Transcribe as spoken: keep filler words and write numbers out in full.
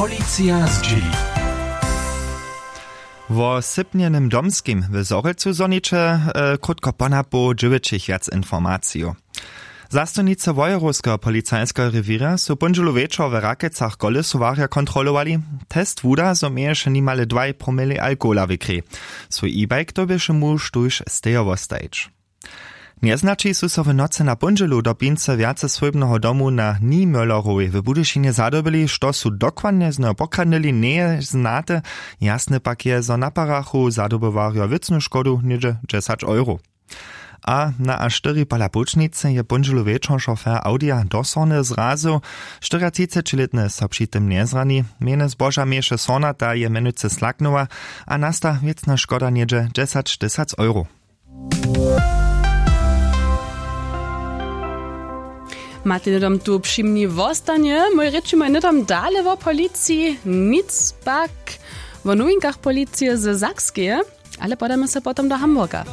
Policija zdźěli. Wo sypnjenym domskim w Zhorjelcu zhoniće krótko ponapoł dźěłyćich wjac informacijow. Zastojnicy wojerowskeho policajskeho rewěra su póndźelu wječor w Rakecach kolesowarja kontrolowali. Test wuda zo měješe nimale dwaj promili alkohola w krej. Swój e-bike dyrbješe muž tuž stejo wostajić. Njeznaći su so w nocy na póndźelu do pincy wjaceswójbneho domu na niemöllerowej w budyšinje zadobyli. Što su dokładnje z njeho pokradnyli njeje znate. Jasne pak je zo naparachu zadobywarjo wěcnu škodu něhdźe dźesać euro. A na a štyri pola połčnicy je póndźelu wječor šofer audija do sorny zrazył. Štyriatřicećilětny so při tym njezrani. Mjenje zboža měješe sornata je mjenujcy slaknyła a nasta wěcna škoda něhdźe dźesać tysac euro. Matej hnydom tu při mni wostanje. Mój rěčimoj hnydom dale wo policiji nic pak wo nowinkach policije ze sakskeje. Ale podamy se potom do hamburga.